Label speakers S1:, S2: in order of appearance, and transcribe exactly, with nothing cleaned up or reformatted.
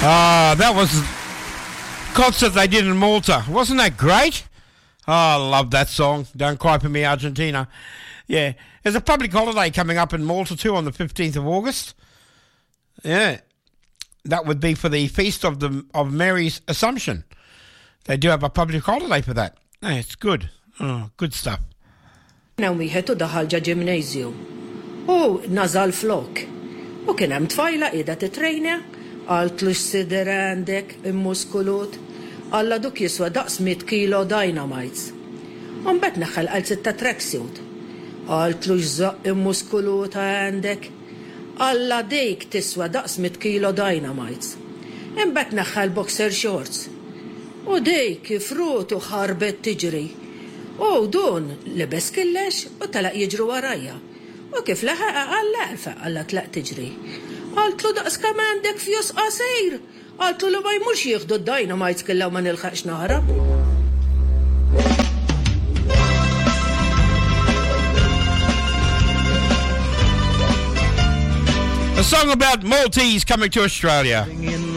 S1: Ah, that was concert they did in Malta. Wasn't that great? Oh, I love that song. Don't Cry For Me, Argentina. Yeah. There's a public holiday coming up in Malta too on the fifteenth of August. Yeah. That would be for the Feast of the of Mary's Assumption. They do have a public holiday for that. Yeah, it's good. Oh, good stuff.
S2: Hemm wieħed u daħal ġo gymnasium. U naża l-flok. U kien hemm tfajla qiegħda titrejna, qaltlu x'sider għandek immuskulut. Alla duk jiswa daqs mitt kilo dynamites. U mbagħad neħħa l-qalziet ta' tracksuit. Qaltlu x'żaqq immuskulut għandek. Alla dik tiswa daqs mitt kilo dynamites. Imbagħad neħħa l-boxer shorts. U dik kif rutu ħarbet tiġri. U dun libes kollox u telaq jiġru warajja. U kif laħaq qalla għalfejn qalla tlaq tiġri. Qaltlu daqs kemm għandek fjus qasir. Qaltlu li ma jmurx jieħdu d-dynamites kollha u ma nilħaqx naħrab.
S1: A song about Maltese coming to Australia.